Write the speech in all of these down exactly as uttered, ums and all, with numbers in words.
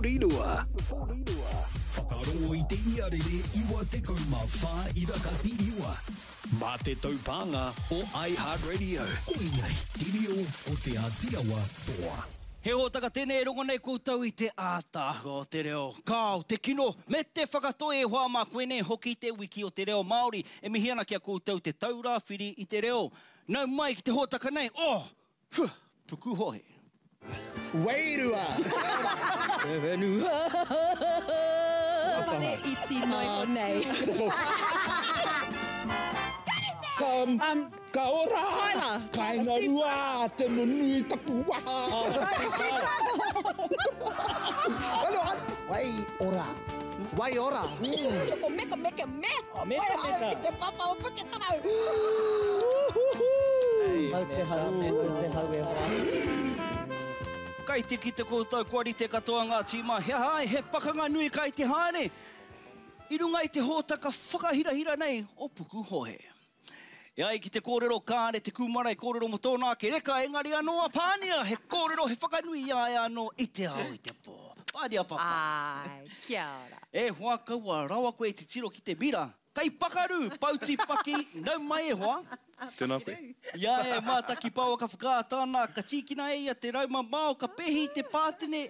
Porirua. Whakarongo i te iarere iwa tekau mā whā ira kati iwa. Mā te taupānga o iHeartRadio. Koinei te reo o Te Āti Awa toa. He hōtaka tēnei e rongo nei koutou i te ātaahua o te reo. Kāo, te kino, me te whakatoi e hoa mā koinei hoki te wiki o te reo Māori. E mihi ana ki a koutou te taura whiri i te reo. Nau mai ki te hōtaka nei, oh! Huh! Pukuhohe. Wairua! Te whenua! Whare iti noi o nei. Ka, um, ka ora! Tyler! Kainga rua, te nunui taku waha! Wai ora. Wai ora. Ko meka meka me. Meka meka. Ki te papa o Puketarau. Mau te hau, mau te hau e hoa. Kai te kite koutou kua rite katoa ngā tīma, he aha ai, he pakanga nui kai te haere. I runga i te hōtaka whakahirahira nei o Pukuhohe. E ai ki te kōrero kāre te kūmara i kōrero mō tōna ake reka, engari anō a Pānia, he kōrero, he whakanui i a ia anō i te ao i te pō. Pānia papa. Ai, kia ora. E hoa kaua rawa koe i titiro ki te mira. Kai pakaru, pauti paki, nau mai e hoa. Tēnā koe. I a e mātaki pāwaka whakaata ana, ka tīkina e ia te rauma mao, ka pēhi i te pātene,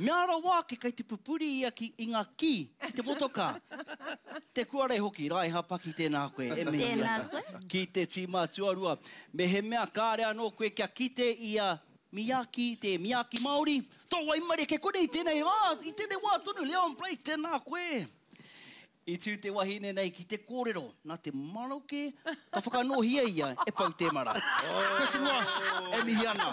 mea rawa ake kai te pupuri ia ki, i ngā kī, ki te motokā. Te kuare hoki, Raiha Paki, tēnā koe, e mihi Tēnā ana. koe. Ki te tīma tuarua. Me he mea kāre anō koe kia kite i a Miyaki, te Miyaki Māori, tō waimarie ke kore i tēnei rā, i tēnei wā tonu, Leon Blake, tēnā koe. I tū te wahine nei ki te kōrero, nā te maroke, ka whakanōhia ia e Pau Temara. Kristen Ross, e mihi ana,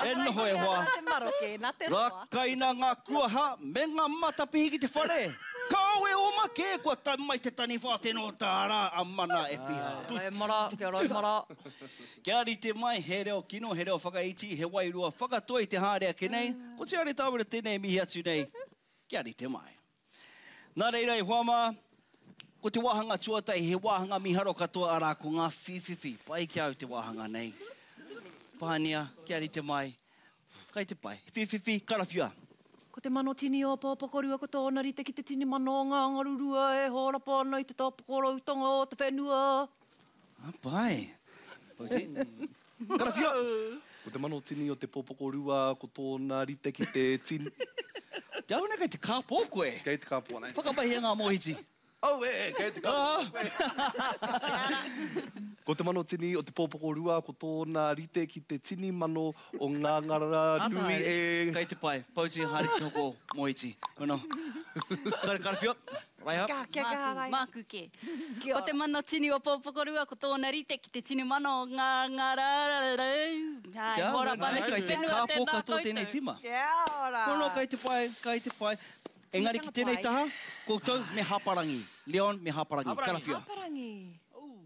e noho e hoa. Nā te maroke, nā te roa. Rakaina ngā kuaha me ngā matapihi ki te whare. Kāo e oma kē, kua tau mai te taniwha tēnō tāra a mana e piha. Kia mara, kia mara. Kia rite mai, he reo kino, he reo whakaiti, he wairua whakatoi te haere ake nei. Ko te are tāwera tēnei mihi atu nei, kia rite mai. Nā reira e hoa mā, ko te wāhanga tuatahi, he wāhanga miharo katoa arā ko ngā whiwhiwhi. Pai ki au te wāhanga nei. Pānia, kia rite mai. Kai te pai. Whiwhiwhi, karawhiua. Ko te mano tini o Pōpokorua, ko tōna rite ki te tini mano o ngā ngarurua e hōrapa ana i te tāpokoroutanga o te whenua. Ah, pai. Pauti. Karawhiua. Ko te mano tini o te Pōpokorua, ko tōna rite ki te tini... Te auna kei te kāpō koe. Kei te kāpō nei. Whakamahia ngā mōhiti. Oh, e, e, kei te kāpō koe. Ko te mano tini o te Pōpokorua, ko tōna rite ki te tini mano o ngā ngarara nui e... Kei te pai, pauti haere ki te hoko mōhiti. Kono. Karawhiua, Raiha. Ka, kia kaha, Raiha. Māku kē. Ko te mano tini o Pōpokorua, ko tōna rite ki te tini mano o ngā ngarara. Hai, Kia hora ora, pana ki kei te whenua, kāpō tēnā katoa tēnei koutou. tīma. Kia ora. Kono, kei te pai, kei te pai. Engari ki tēnei taha, koutou me Hāparangi. Leon me Hāparangi. Karawhiua. Hāparangi.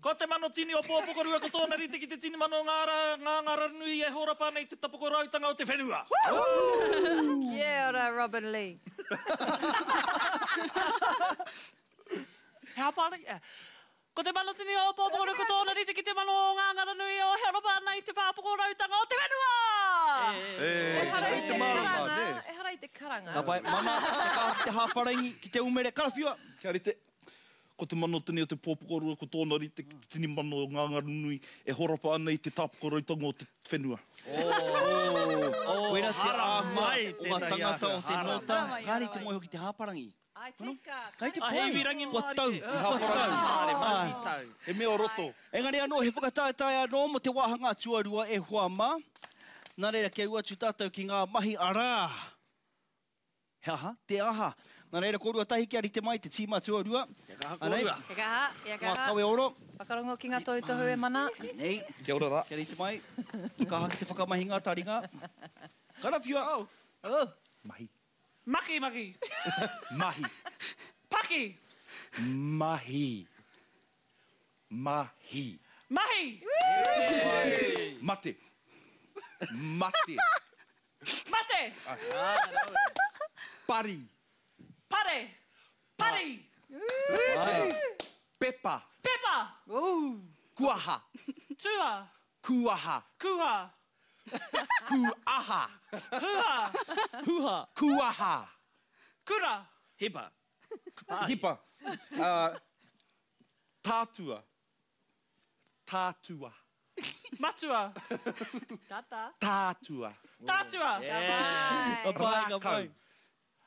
Ko te mano tini o Pōpokorua, ko tōna rite ki te tini mano o ngā rā, ngā ngara nui e hōrapa nei te tapokorautanga o te whenua. Kia ora, Robin Lee. He hāparangi? Eh. Ko te mano tini o Pōpokorua, ko tōna rite ki te mano o ngā ngara nui o hōrapa nei te tapokorautanga o te whenua! Ehara i Te te mārama, karanga, nē. ehara i te karanga. Ka pai, mana, te kaha ki te hāparangi, ki te umere, karawhiua. Kia rite. Ko te mano tini o te Pōpokorua, ko tōna rite ki te tini mano o ngā ngaru nui e horapa ana i te tāpokoroutanga o te whenua. Oh, Koira te āhua mai o ngā tētahi tangata o te āhua. nōta, Haramai, kāre i te haramai. moe hoki te hāparangi. Ai, tika. Kai te A pai, hei rangi kua tau, mārie. kua tau. Mārie, Ai. tau. He mea o roto. Engari anō, he whakataetae anō mō te wāhanga tuarua e hoa mā. Nā reira, kia ua atu tātou ki ngā mahi arā. He aha? Te aha. Nā reira, kōrua tahi kia rite mai te tīma tuarua. Kia kaha Anei, kōrua. Kia kaha, kia ngā kaha. kawe oro. Whakarongo ki ngā tautohu e mana. Nei, Kia ora rā. kia rite mai. Kaha ki te whakamahi ngā taringa. Karawhiua. Oh. Mahi. Maki, maki. Mahi. Paki. Mahi. Mahi. Mahi. Mate. Mate. Mate. Pari. Pare. Pari. Pepa. Pepa. Kuaha. Tua. Kuaha. Kuha. Kuaha. Huha. Huha. Kuaha. Kura. Hipa. Hipa. Uh, tātua. Tātua. Matua. Tata. Tātua. Tātua. Ka pai, ka pai.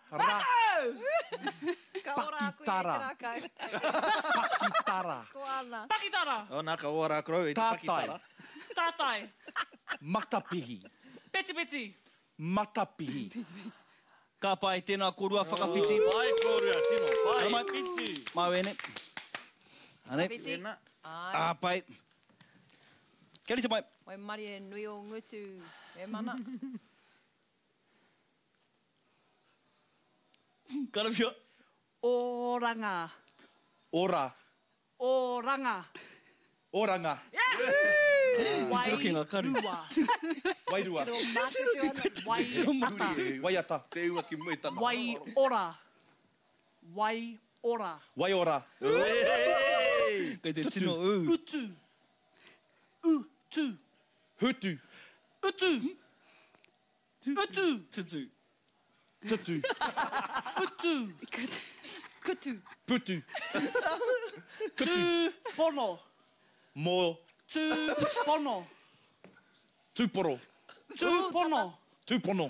Rākau. Ka ora aku i te Pakitara. rākau. Pakitara. Ko ana. Pakitara. O, nā ka ora krau i te Tātai. pakitara. Tātai. Matapihi. Petipeti. Matapihi. Ka pai, tēnā kōrua whakawhiti. Pai kōrua, tino. Pai. Haramai. Whiti. Mau ene. Anei. Whiti. Tēnā. Ai. Ā, pai. Kia rite mai. Wai mari e nui o ngutu. E mana. Karawhia. Oranga. Ora. Oranga. Oranga. Tiro ki ngā karu. Wairua. Waiata. Waiata. Te ua ki mui tana. Waiora. Waiora. Waiora. Kei te tino ū. Utu. Utu. Hutu. Utu. Utu. Tutu. Tutu. Utu. Kutu. Putu. Tūpono. Mō. Tūpono. Tūporo. Tūpono. Tūpono.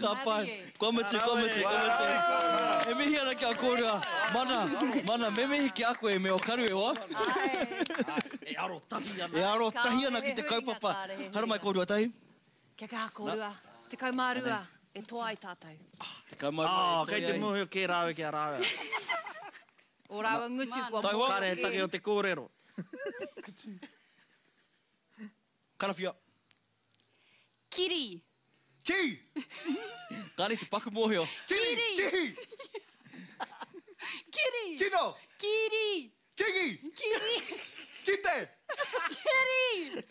Ka pai. Kua mutu, kua mutu, kua mutu. E mihi ana ki a kōrua. Mana, mana, me mihi ki a koe me o karu e hoa. E aro tahi ana. E aro tahi ana ki te kaupapa. Haramai kōrua tahi. Kia kaha kōrua. Tekau mā rua. E toa ai tātou. Tekau mā rua Oh, e toa kei te ai. mōhio kē rāua ki a rāua. O rāua ngutu kua Taihoa. mōhio Kāre he kē. take o te kōrero. Karawhia. Kiri. Ki! Kāre te paku mōhio. Kiri! Kiri. Kihi! Kiri. Kino! Kiri. Kingi! Kiri. Kite! Kiri.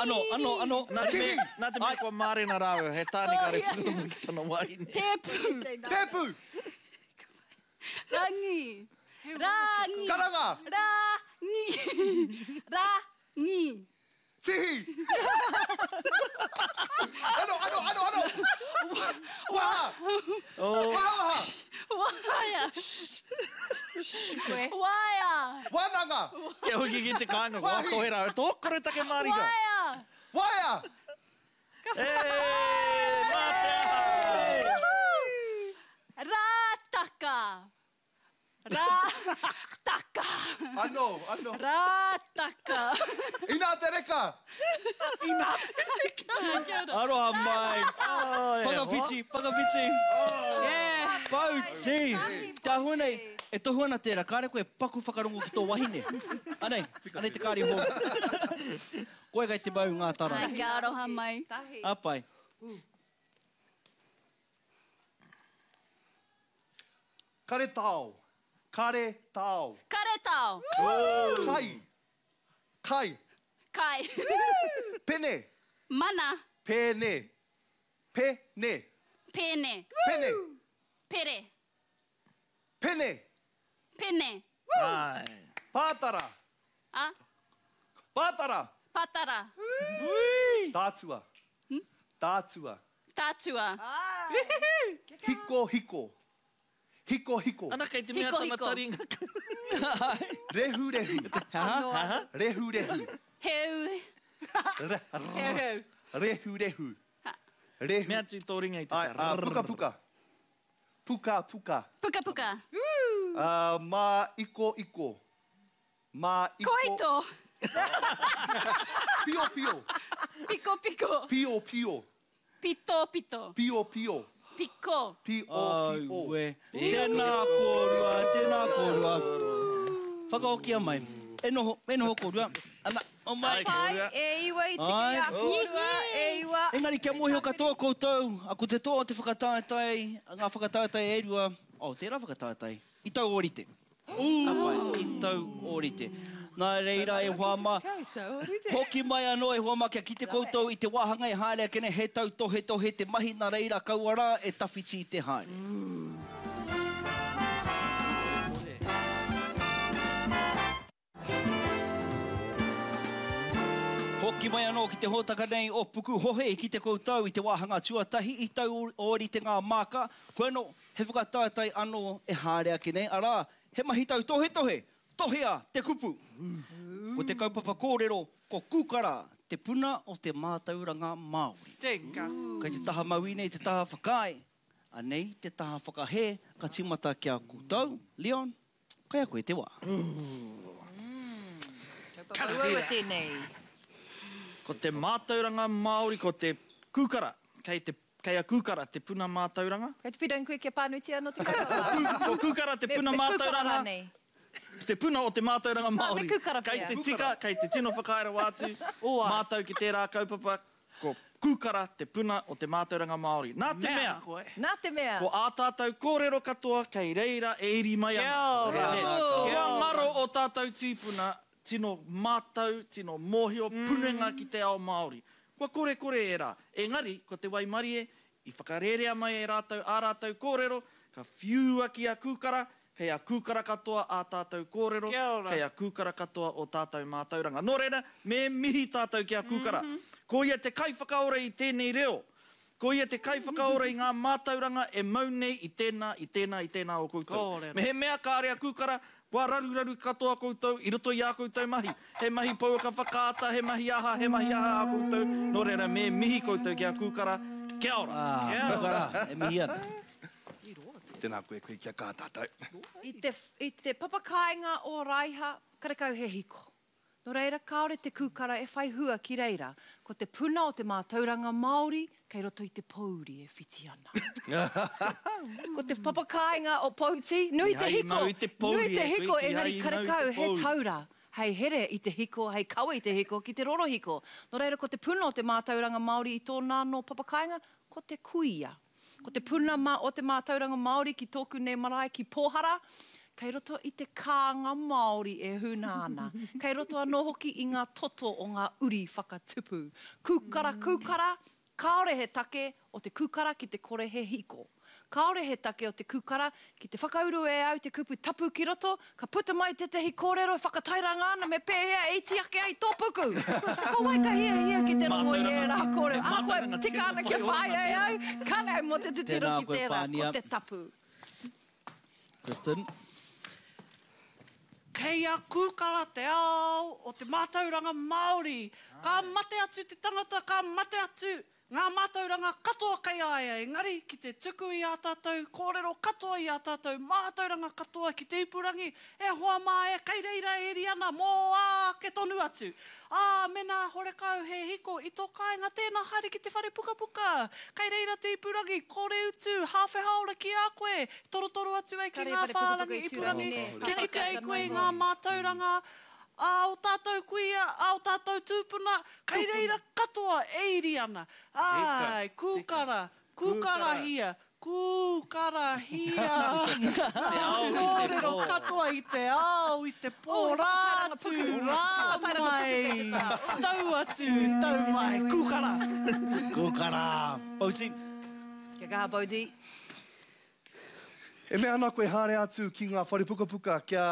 Ano, ano, ano. Nā te mea, nā te mea kua mārena rāua, he tāne kare Oh, yeah. whuruma ki tana wahine. Tepu. Tepu! Rangi. Rangi. Karanga! Rangi. Rangi. Tihi! Ano, ano, ano, ano! Waha! Oh. Waha, waha! Waia. Waia. Wānanga! Kia hoki ki te kāinga, kua Wahi. kohe rāua. Tō kore take mārika. Waia. Waia! E, mā te aha! Rātaka. Rātaka. Ano, ano. Rātaka. Inā te reka! Inā te reka. Aroha mai. Whakawhiti, whakawhiti. Yeah. Pauti. Te ahua nei, e tohu ana tērā, kāre koe paku whakarongo ki tō wahine. Anei, anei te kāri hou. Koe kai te mau ngā tara. Ai, kia aroha mai. Tahi. A pai. Karetao. Karetao. Karetao. Kai. Kai. Kai. Pene. Mana. Pene. Pene. Pene. Pene. Pere. Pene. Pene. Ai. Pātara. A. Pātara. Patara. Tātua. Tātua. Tātua. Hiko, hiko. Hiko, hiko. Ana kei te mea Hiko, tana hiko. taringa. Rehu, rehu. Ha? Rehu, rehu. Heu. Re- Heu, heu. Rehu, rehu. Rehu. Mea atu tō ringa i te Ai, ah, puka, puka. Puka, puka. Puka puka. Uh, ma iko, iko. Ma iko. Koito. Pio, pio. Piko piko. Pio, pio. Pito pito. Pio, pio. Piko. Pio, pio. Aue. Tēnā kōrua, tēnā kōrua. Whakaokia mai. E noho, e noho kōrua. Ana, o mai. Pai, e iwa i tiki Ai. a kōrua, e iwa. Engari kia mōhio katoa koutou, a ko te toa o te whakataetae, ngā whakataetae e rua, oh, tērā whakataetae, i tau ōrite. Ka pai, i tau ōrite. Nā reira e hoa mā, hoki mai anō e hoa mā kia kite koutou i te wāhanga e haere ake nei, he tau tohe tohe te mahi nā reira kaua rā e tawhiti i te haere. Hoki mai anō ki te hōtaka nei o Pukuhohe i kite koutou i te wāhanga tuatahi i tau ōrite ngā māka. Koe anō, he whakataetae anō e haere ake nei, arā, he mahi tautohetohe, tohea te kupu. Ko te kaupapa kōrero, ko Kūkara, te puna o te mātauranga Māori. Tika. Kei te taha mauī nei te taha whakaae, anei te taha whakahē, ka tīmata ki a koutou, Leon, kei a koe te wā. Kaupapa uaua tēnei. Ko te mātauranga Māori, ko te kūkara, kei te, kei a kūkara te puna mātauranga. Kei te pīrangi koe kia pānuitia anō te kaupapa. Ko kūkara te puna Me, me kūkara mātauranga. rānei. Te puna o te mātauranga Māori. Me kūkara Kei pea. te tika, kei te tino whakaere wātu, mātau ki tērā kaupapa, ko kūkara te puna o te mātauranga Māori. Nā te mea, Nā te mea. ko ā tātou kōrero katoa kei reira e iri mai ana. Kia ora. Kua ngaro o tātou tīpuna, tino mātau, tino mōhio, punenga ki te ao Māori. Kua kore kore e rā. Engari, ko te waimarie, i whakarērea mai e rātou ā rātou kōrero, ka whiua ki a kūkara, kei a kūkara katoa ā tātou kōrero, kei a kūkara katoa o tātou mātauranga. Nō reira, me mihi tātou ki a kūkara. Ko ia te kaiwhakaora i tēnei reo. Ko ia te kaiwhakaora i ngā mātauranga e mau nei i tēnā, i tēnā, i tēnā o koutou. Kōrero. Me he mea kāre a kūkara, kua raruraru katoa koutou i roto i ā koutou mahi. He mahi pouaka whakaata, he mahi aha, he mahi aha a koutou. Nō reira, me mihi koutou ki a kūkara. Kia ora. Ah, kūkara, e mihi ana. Tēnā koe koe kia kā tātou. I te, i te papakāinga o Raiha, karekau he hiko. Nō reira, kāore te kūkara e whai hua ki reira. Ko te puna o te mātauranga Māori, kei roto i te pōuri e whiti ana. Ko te papakāinga o Pouti, nui te Tihai hiko, mau i te pōuri nui te e koe, hiko, tihai engari mau i te karekau he pōuri. taura. Hei here i te hiko, hei kawe i te hiko, ki te rorohiko. Nō reira, ko te puna o te mātauranga Māori i tōna anō papakāinga, ko te kuia. Ko te puna mā o te mātauranga Māori ki tōku nei marae ki Pōhara, kei roto i te kānga Māori e huna ana. Kei roto anō hoki i ngā toto o ngā uri whakatupu. Kūkara, kūkara, kāore he take o te kūkara ki te kore he hiko. Kāore he take o te kūkara ki te whakauru e au te kupu tapu ki roto, ka puta mai tētehi kōrero e whakatairanga ana me pēhea e iti ake ai tō puku. Ko wai ka hiahia ki te rongo i ērā kōrero. Ahakoa tika ana kia whāia e au, kāre au mō te titiro Tēnā ki koe, tērā, Pānia. ko te tapu. Kristen. Kei a kūkara te ao o te mātauranga Māori. Ka mate atu te tangata, ka mate atu ngā mātauranga katoa kei a ia. Engari, ki te tuku i ā tātou kōrero katoa i ā tātou mātauranga katoa ki te ipurangi, e hoa mā e kei reira e eri ana mō ake tonu atu. Ā, mena horekau he hiko i tō kāinga, tēnā haere ki te whare pukapuka. Kei reira te ipurangi, kore utu, hāwhe hāora ki a koe, torotoro atu ai ki Kare ngā whare pukapuka whārangi i ipurangi, Tūrangi, nē. kia kite ai koe i ngā mātauranga, a o tātou kuia, a o tātou tūpuna, kei reira katoa e iri ana. Ai, kūkara, kūkarahia, kūkarahia. Te ao i te Kōrero pō. katoa i te ao, i te pō, rā atu, rā mai. Tau atu, tau mai, kūkara. Kūkara. Pouti. Kia kaha, Pouti. E mea ana koe haere atu ki ngā whare pukapuka, kia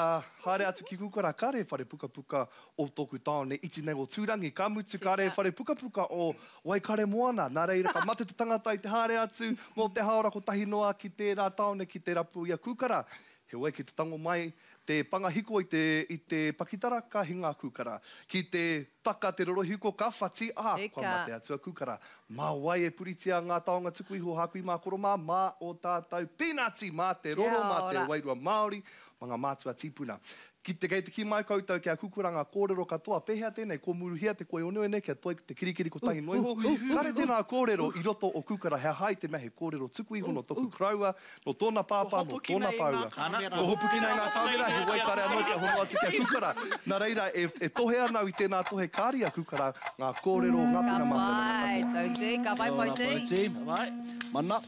haere atu ki kūkara, kāre whare pukapuka o tōku tāone iti nei o Tūrangi, ka mutu kāre whare pukapuka o Waikaremoana. Nā reira, ka mate te tangata i te haere atu mō te haora kotahi noa ki tērā tāone ki te rapu i a kūkara. Heoi, ki te tango mai te pangahiko i te, i te pakitara, ka hinga kūkara. Ki te taka te rorohiko, ka whati, ā, kua mate atu a kūkara. Mā wai e puritia ngā taonga tuku iho hākui mā koro mā, mā o tātou pīnati, mā te roro, mā te wairua Māori, mā ngā mātua tīpuna. Ki te kei te ki mai koutou kia kukura ngā kōrero katoa, pēhea tēnei, ko muruhia te koi oneone, kia toi te kirikiri kotahi noa iho. Kāre tēnā kōrero i roto o kukara, he hai te mea he kōrero tuku iho no toku karaua, no tōna pāpā, no tōna pāua. Ko hopukina i ngā kāmera, he wai kare anō kia hono atu kia kukara. Nā reira, e, e tohe ana i tēnā tohe kāri a kukara, ngā kōrero, ngā puna mātauranga Ka pai, tauti, ka pai, Pouti. Ka pai. Mana.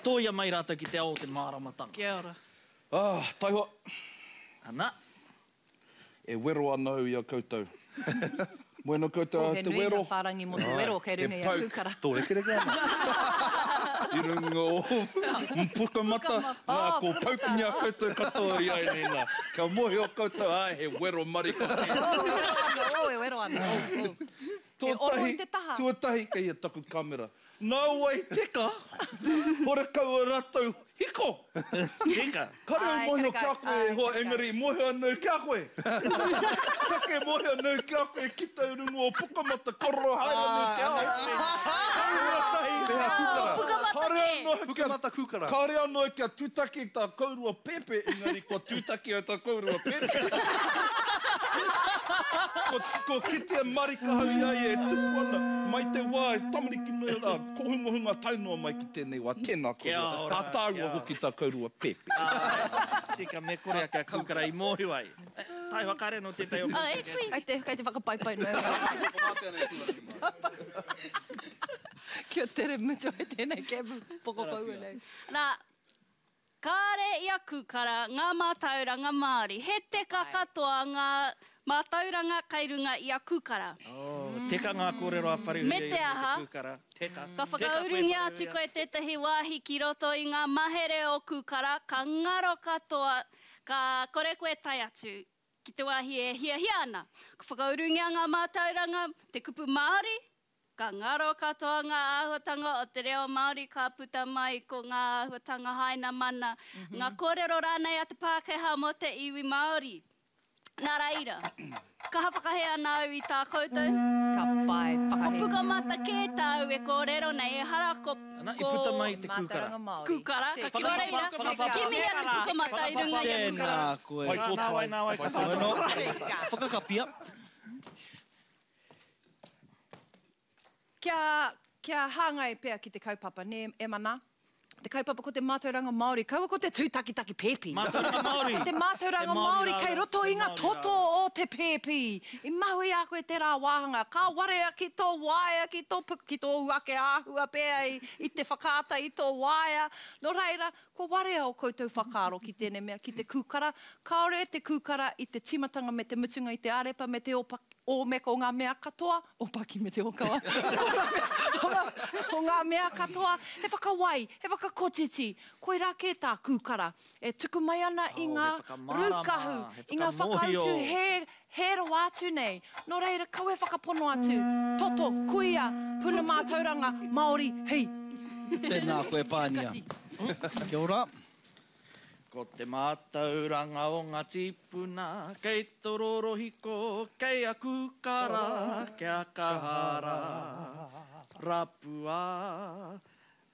Tōia mai rātou ki te ao o te māramatanga. Kia ora. Ah, taihoa. Ana. E wero ana au i a koutou. Moena koutou Oh, a he te nui wero. ngā whārangi mō te wero kei runga i a He pau. kūkara. Tō rekereke ana. I runga o Pukamata, nā, ko paukingia koutou katoa i ai nei nā. Kia mōhio koutou, ai, he wero marika. Wero ana, oh, e wero ana. Oh, oh. Tuatahi, tuatahi kei a taku kamera. Nā wai teka, hore kau a rātou hiko. Teka. Kare au mōhio ki a koe e hoa, engari mōhio anau ki a koe. Take mōhio anau ki a koe ki tau runga o Pukamata, kororo haere anau te ao. Tuatahi. Ko Pukamata kē. Pukamata kūkara. Kāre anō kia tūtaki tā kourua pēpē, engari kua tūtaki au tā kourua pēpē. Ko, ko kitea marika hau i a ia e tupu ana, mai te wā e tamariki nei rā, kohungohunga tae noa mai ki tēnei wā, tēnā kourua. A tāua hoki tā kourua pēpē. Tika, me kore ake a kūkara i mōhio ai. Tae whakaare nō tētahi o koutou. Kai te, kai te whakapaipai noa. Kia tere mutu ai tēnei kēmu pokopaua nei. Nā, kāre i a kūkara ngā mātauranga Māori. He teka katoa ngā mātauranga kai runga i a kūkara. Oh, teka ngā kōrero a Wharehuia Me te aha, i kūkara. Teka. Ka whakaurungia atu koe tētahi wāhi ki roto i ngā mahere o kūkara, ka ngaro katoa, ka kore koe tae atu ki te wāhi e hiahia ana. Ka whakaurungia ngā mātauranga, te kupu Māori, ka ngaro katoa ngā āhuatanga o te reo Māori ka puta mai ko ngā āhuatanga haina mana, ngā kōrero rānei a te Pākehā mō te iwi Māori. Nā reira, kaha whakahē ana au i tā koutou. Ka pai, whakahē. Ko Pukamata kē tāu e kōrero nei, ehara ko... Ana, i puta mai te kūkara. Kūkara, ka nō reira, kimihia te Pukamata i runga i a kūkara. Tēnā koe. Whai tōtai. Nā wai, nā wai, ka whai tōtai. Whakakapia. Kia, kia hāngai pea ki te kaupapa, nē, e mana? Te kaupapa ko te mātauranga Māori, kaua ko te tūtakitaki pēpi. Mātauranga Māori. Ko te mātauranga Māori kei roto i ngā toto o te pēpi. I mahu i a koe tērā wāhanga, ka warea ki tō waea, ki tō puku, ki tō ake āhua pea i, i te whakaata i tō waea. Nō reira, kua warea o koutou whakaaro ki tēnei mea, ki te kūkara. Kāore te kūkara i te timatanga me te mutunga i te arepa me te opa, ōmeka o ngā mea katoa, opaki me te okawa, o ngā mea katoa, he whakawai, he whakakotiti, koirā kē tā kūkara. E tuku mai ana i ngā rūkahu, i ngā whakautu he, he rawa atu nei. Nō reira, kau e whakapono atu, toto, kuia, puna mātauranga, Māori, hei. Tēnā koe Pānia. Kia ora. Ko te mātauranga o ngā tīpuna, kei tororohiko, kei a kūkara, kia kahara, rapua,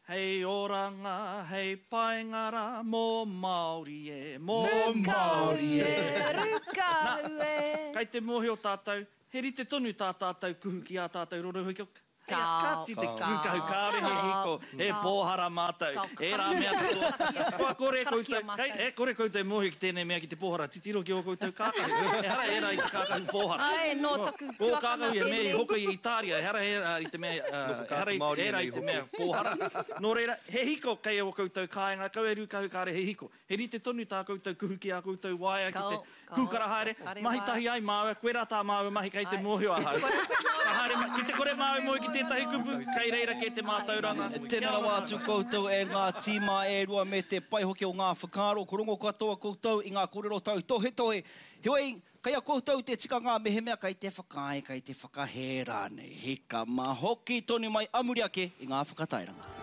hei oranga, hei paengara, mō Māori e, mō Māori e. Rūkahu e. Kai te mōhio tātou, he rite tonu tā tātou kuhu ki ā tātou rorohiko. Ka ti te rūkahu kāre he hiko, he pōhara mātou, e rā mea katoa. Kua kore koutou, kei, e kore koutou mōhio ki tēnei mea ki te pōhara, titiro ki o koutou kākahu. Ehara ērā i te kākahu pōhara. Ai, nō taku Ko tuakana kākahu e mea i tēnei. hoka i Itāria, ehara ērā i te mea, ehara i ērā i te mea pōhara. Nō reira, he hiko kei o koutou kāinga, kau e rūkahu kāre he hiko. He rite tonu tā koutou kuhu ki ā koutou waea ki te kūkara haere, mahi tahi ai māua, koe rā tā māua mahi kei te mōhio ahau. Ka haere, ki te kore māua moe ki tētahi kupu, kei reira kē te mātauranga. Tēnā rawa atu koutou e ngā tīma e rua me te pai hoki o ngā whakaaro, ko rongo katoa koutou i ngā kōrero tau tohetohe. Heoi, kei a koutou te tikanga mehemea kei te whakaae, kei te whakahē rānei. Hika mā hoki tonu mai amuri ake i ngā whakatairanga.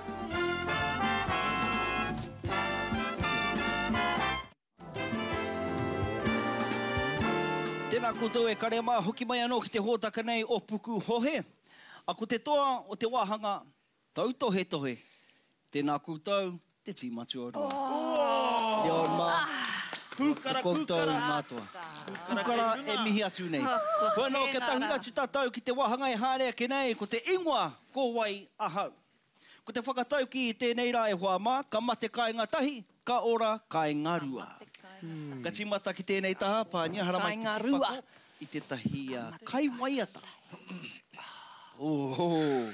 Tēnā koutou e kare mā, hoki mai anō ki te hōtaka nei o Puku Hohe. A ko te toa o te wāhanga, tautohetohe. Tēnā koutou, te tīma tuarua. Oh! Leon mā, Kūkara, koutou kūkara. mātoa. Kūkara e mihi atu nei. Koe anō, kia tahuri atu tātou ki te wāhanga e haere ake nei, ko te ingoa, ko wai ahau. Ko te whakatau ki tēnei rā e hoa mā, ka mate kāinga tahi, ka ora kāinga rua. Ka tīmata ki tēnei taha, Pānia, haramai te tīpako i tētahi uh, kaiwaiata. Oh,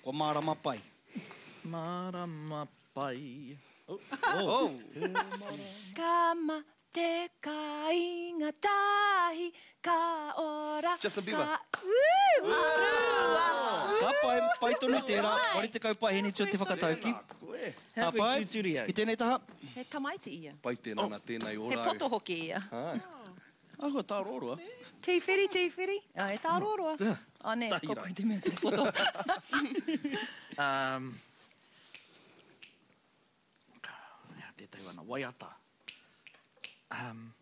kua mārama pai. Mārama pai. Oh. Oh. Ka mate te kāinga tahi, ka ora. Justin Bieber. Ka... Woo! Rua. Ka pai, pai tonu tērā. Wari te kaupae heni o te whakatauki. Ka pai, ki tēnei taha. He tamaiti ia. Pai tēnā nā tēnei ora. He poto hoki ia. Ahua tārōroa. Tīwhiri, tīwhiri. Ah, he tārōroa. Ah, nē, ko koe te mea te poto. Um, Hea tētahi wana, waiata. Um,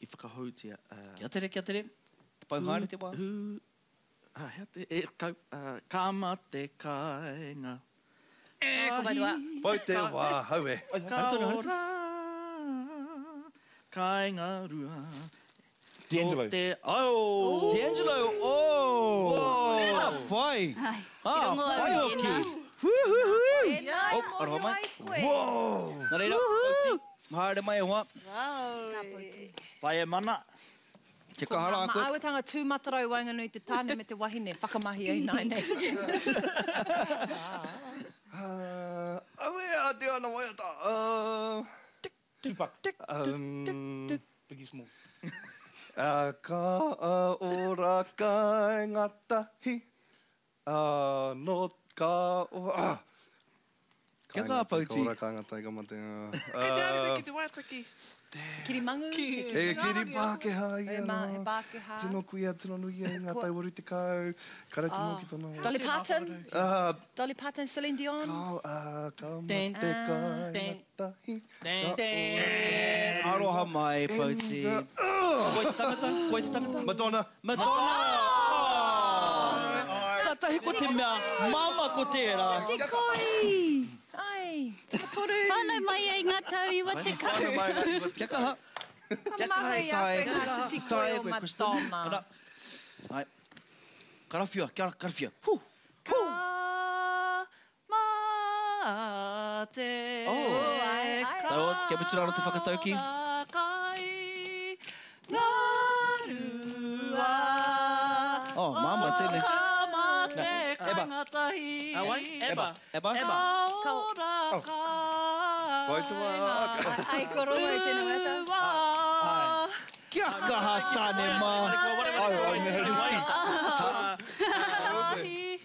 I whakahoutia. Uh, kia tere, kia tere. Te pau haere te wā. Hu, ah, hea te, e, kau, uh, ka mate kāinga. E, ko pai te wā. Pau te wā, hau e. Ka ora, kāinga rua. D'Angelo. O te ao. D'Angelo, oh! Ah, pai. Ah, pai hoki. Tēnā, Oh, aroha mai. koe. Whoa! Nā reira, Pauti, haere mai e hoa. Ka pauti. Pai e mana. Kia kaha rā koe. Maauetanga tūmatarau waenganui te tāne me te wahine, whakamahi ai nai nei. Uh, aue, a te ana waiata. Uh, Tupac. um, Biggie Small. Uh, ka ora kāinga tahi. Uh, no ka ora... Ah. Kia kaha, Pauti. Ka ora kāinga tahi ka mate. Kei te haere ki te waiata ki. Kirimangu. He kiri Pākehā ia He mā, he nā. Pākehā. Tino kuia, tino nui ia i ngā tau waru tekau. Kare te mō ki tōna. Dolly Parton. Uh, Dolly Parton, Celine Dion. ka, uh, ka Ding, mate kāinga ding, tahi. Ding. Ding. Aroha mai, Pauti. Koe te tangata, koe te tangata. Madonna. Madonna. Oh. Tatahi ko te mea, māma ko tērā. Tikoi! Ai, toru. Whānau mai ai ngā tau iwa te kau. Kia kaha. Kia kaha i a koe ngā titikoi o Madonna. Ara. Ai. Karawhia, kia karawhia. Hu. Ka mate. Oh. Ai, ai. Tau, kia mutu rāro te whakatauki. Kai ngā rua. Oh, māma tēnei. Ka mate Eba. kāinga tahi. Ah, wai? Eba. Eba. Eba. Ka ora Wai te wā. Ai, koroua i tēnā waiata. rua. Kia kaha tāne mā.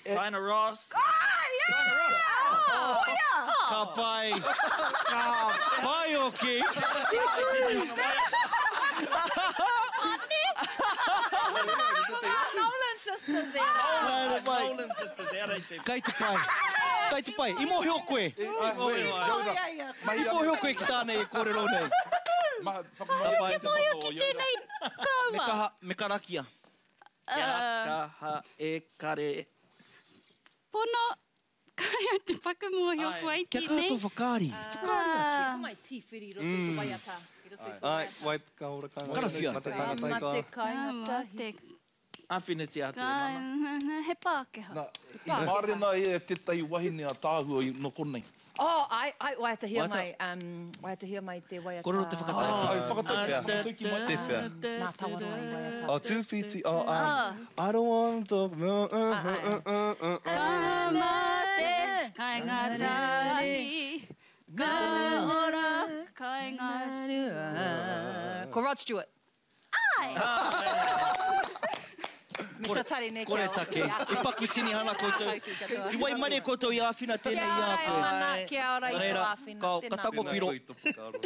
Diana Ross. Ka pai. Ka pai hoki. Nolan Sisters era. Haere mai. Nolan Sisters, e ara i te. Kai te pai. Kai te pai. I mōhio koe. I mōhio koe ki tāne e kōrero nei. Ma, Ka pai. Te mōhio ki tēnei Me karaua. kaha, me karakia. Kia kaha e kare. Pono, kare au te pakamōhio Ai. koe i Kia kaha tēnei. tō whakaari. Whakaari atu. Ko mai tīwhiri i roto i te waiata. I roto i te Ai, waiata. wai ka ora kāinga. Karawhia. Mate Ka kāinga tahi ka. mate kāinga tahi. Te Āwhinatia atu e mana. He Pākehā. Nā, i mārena ia tētahi wahine a tāhua i no konei. Oh, ai, ai, waiatahia Waiata. mai, um, waiatahia mai te waiata. Kōrero te whakatauki. Ai, whakatauki, Ah. whakatauki mai. Te whea. Nā Tawaroa i waiata. Oh, tūwhiti, oh, um, I don't want to talk, uh, uh, uh, uh, uh, uh. Ka mate, kāinga tahi, ka ora, kāinga. Ko Rod Stewart. Ai! Me tatari nei Kore kia take. I paku tinihana koutou. I waimarie koutou i āwhina tēnei Kia i a ora e koe. mana, kia ora i Nā tō reira, āwhina. ka, ka Tēnā. tango piro. Tēnā koe i tō whakaaro.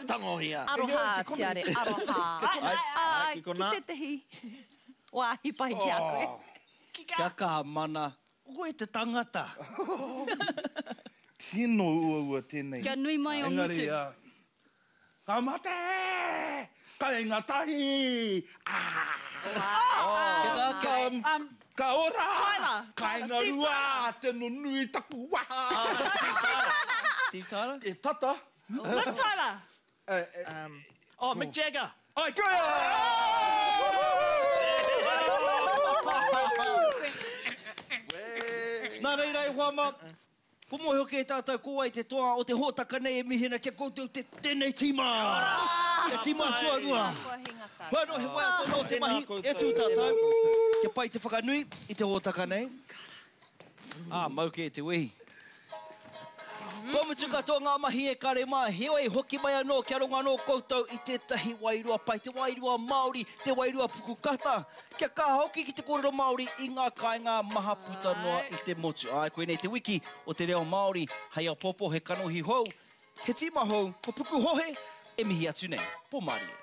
Tangohia. Aroha, tiare, aroha. Ai, Ai, ai, ki ki konā. tētahi wāhi pai ki a koe. Kia kaha mana. Koe te tangata. Tino uaua tēnei. Kia nui mai o Engari, ngutu. ah, ka mate! Kāinga tahi! Ah! Kia kaha, kia Ka, ka ora! Tyler. Kāinga Steve rua! Tēno nui taku waha! Steve Tyler? E tata! Liv Tyler. Eh, eh, Um, oh, Mick Jagger. Ai, kia! Nā reira e hoa mā, ko mōhio kē tātou ko ai te toa o te hōtaka nei e mihina kia koutou te tēnei tīma. Te tīma tuarua. Hua no he waiata nō te mahi, e tū tātou. Kia pai te whakanui i te hōtaka nei. Ā, mau kē te wehi. Kua mutu katoa ngā mahi e kare mā, heoi hoki mai anō kia rongo anō koutou i tētahi wairua pai, te wairua Māori, te wairua pukukata, kia kaha hoki ki te kōrero Māori i ngā kāinga maha puta noa i te motu. Āe, koinei te wiki o te reo Māori, hei apopo he kanohi hou, he tīma hou, ko Pukuhohe e mihi atu nei. Pō mārie.